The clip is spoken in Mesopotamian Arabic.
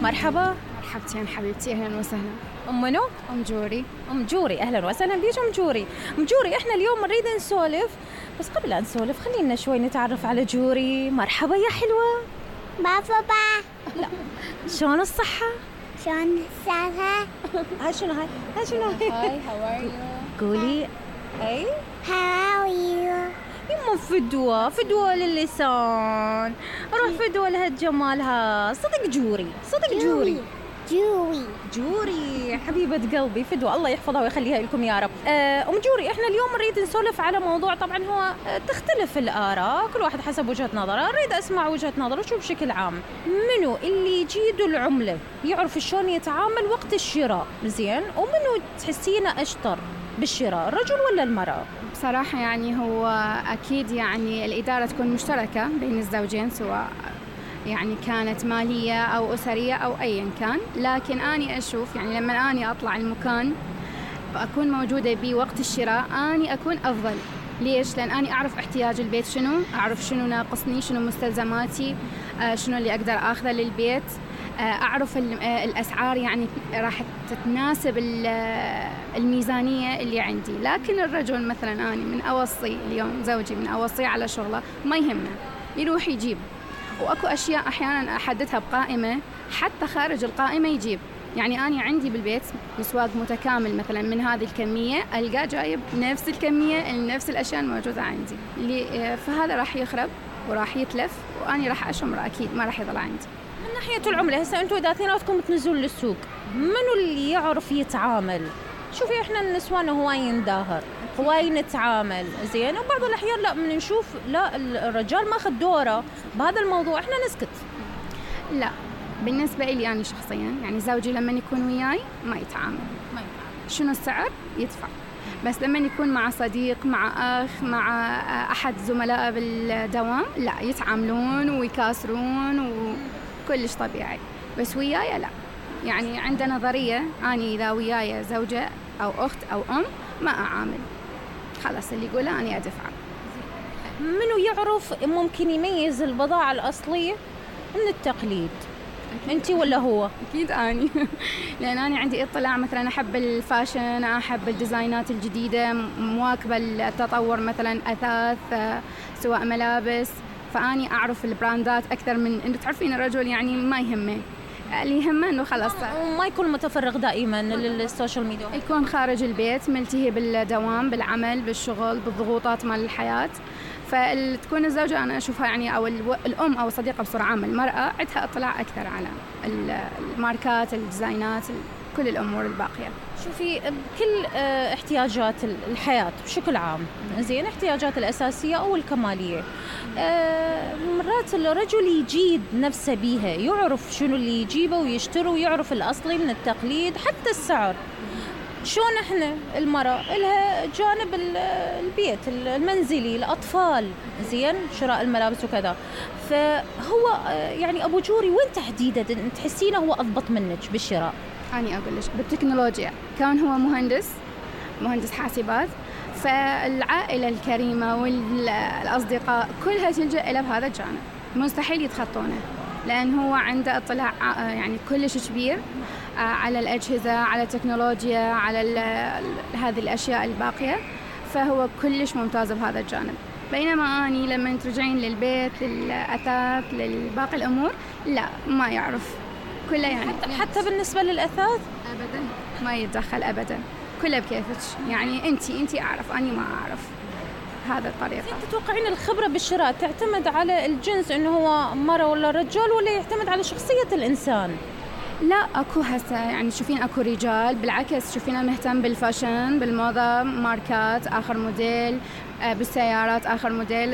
مرحبا. مرحبتين حبيبتي، أهلا وسهلا. أم منو؟ أم جوري. أم جوري، أهلا وسهلا بيك أم جوري. أم جوري إحنا اليوم نريد نسولف، بس قبل أن نسولف خلينا شوي نتعرف على جوري. مرحبا يا حلوة. بابا. لا، شلون الصحة؟ شلون الصحة؟ هاي شنو هاي how are you؟ قولي. أي How are you؟ يما فدوة للسان، روح فدوة لهالجمالها. صدق جوري. جوري حبيبة قلبي، فدوة الله يحفظها ويخليها لكم يا رب. أم جوري، إحنا اليوم نريد نسولف على موضوع، طبعا هو تختلف الآراء، كل واحد حسب وجهة نظره. أريد أسمع وجهة نظره شو بشكل عام. منو اللي يجيد العملة يعرف شلون يتعامل وقت الشراء زين، ومنو تحسينه أشطر بالشراء، الرجل ولا المرأة؟ بصراحة يعني هو أكيد يعني الإدارة تكون مشتركة بين الزوجين، سواء يعني كانت مالية أو أسرية أو أيا كان. لكن أنا أشوف يعني لما أنا أطلع المكان أكون موجودة بوقت الشراء، أنا أكون أفضل. ليش؟ لأن أنا أعرف احتياج البيت شنو، أعرف شنو ناقصني، شنو مستلزماتي، شنو اللي أقدر أخذه للبيت، أعرف الأسعار يعني راح تتناسب الميزانية اللي عندي. لكن الرجل مثلا أنا من أوصي اليوم زوجي من أوصي على شغله ما يهمنا، يروح يجيب. وأكو أشياء أحيانا أحددها بقائمة، حتى خارج القائمة يجيب. يعني أنا عندي بالبيت مسواق متكامل مثلا من هذه الكمية، ألقى جايب نفس الكمية نفس الأشياء الموجودة عندي، فهذا راح يخرب وراح يتلف، وأنا راح أشمره أكيد ما راح يضل عندي. من ناحية العملة هسه أنتوا إذا اثنيناتكم تنزلوا للسوق، منو اللي يعرف يتعامل؟ شوفي إحنا النسوان هواي نداهر، هواي نتعامل زين، وبعض الأحيان لا نشوف لا الرجال ماخذ دوره بهذا الموضوع، إحنا نسكت. لا بالنسبة لي أنا شخصيا يعني زوجي لما يكون وياي ما يتعامل. شنو السعر يدفع، بس لما يكون مع صديق، مع أخ، مع أحد زملائه بالدوام لا يتعاملون ويكاسرون وكلش طبيعي. بس وياي لا، يعني عندنا نظرية أني إذا وياي زوجة أو أخت أو أم ما أعامل، خلاص اللي يقوله أنا أدفع. منو يعرف ممكن يميز البضاعة الأصلية من التقليد؟ أنتي ولا هو؟ أكيد أني لأن أنا عندي اطلاع، مثلا أحب الفاشن، أحب الديزاينات الجديدة، مواكبة التطور، مثلا أثاث سواء ملابس، فأني أعرف البراندات أكثر من إنه تعرفين الرجل يعني ما يهمه، اللي يهمه إنه خلاص ما يكون متفرغ دائما للسوشيال ميديا، يكون خارج البيت ملتهي بالدوام، بالعمل، بالشغل، بالضغوطات مال الحياة. فتكون الزوجة أنا أشوفها يعني أو الأم أو الصديقة بصورة عامة، المرأة عندها اطلاع أكثر على الماركات، الديزاينات، كل الأمور الباقية. شوفي كل احتياجات الحياة بشكل عام زين، احتياجات الأساسية أو الكمالية، مرات الرجل يجيد نفسه بيها، يعرف شنو اللي يجيبه ويشتره، ويعرف الأصلي من التقليد، حتى السعر. شون احنا المرأة لها جانب البيت المنزلي، الأطفال زين، شراء الملابس وكذا. فهو يعني أبو جوري وين تحديدا تحسينه هو أضبط منك بالشراء؟ أنا أقول لك بالتكنولوجيا، كان هو مهندس حاسبات، فالعائلة الكريمة والأصدقاء كلها تلجأ إلى بهذا الجانب، مستحيل يتخطونه، لأن هو عنده اطلاع يعني كلش كبير على الأجهزة، على التكنولوجيا، على هذه الأشياء الباقية، فهو كلش ممتاز بهذا الجانب. بينما أني لما ترجعين للبيت، للأثاث، للباقي الأمور لا ما يعرف كله، يعني حتى بالنسبة للأثاث أبدا ما يتدخل أبدا، كله بكيفك، يعني أنتي أعرف أني ما أعرف. هذا الطريقة. تتوقعين الخبرة بالشراء تعتمد على الجنس إنه هو مرة ولا رجال، ولا يعتمد على شخصية الإنسان؟ لا أكو هسه يعني تشوفين أكو رجال بالعكس تشوفينه مهتم بالفاشن، بالموضة، ماركات آخر موديل، بالسيارات آخر موديل،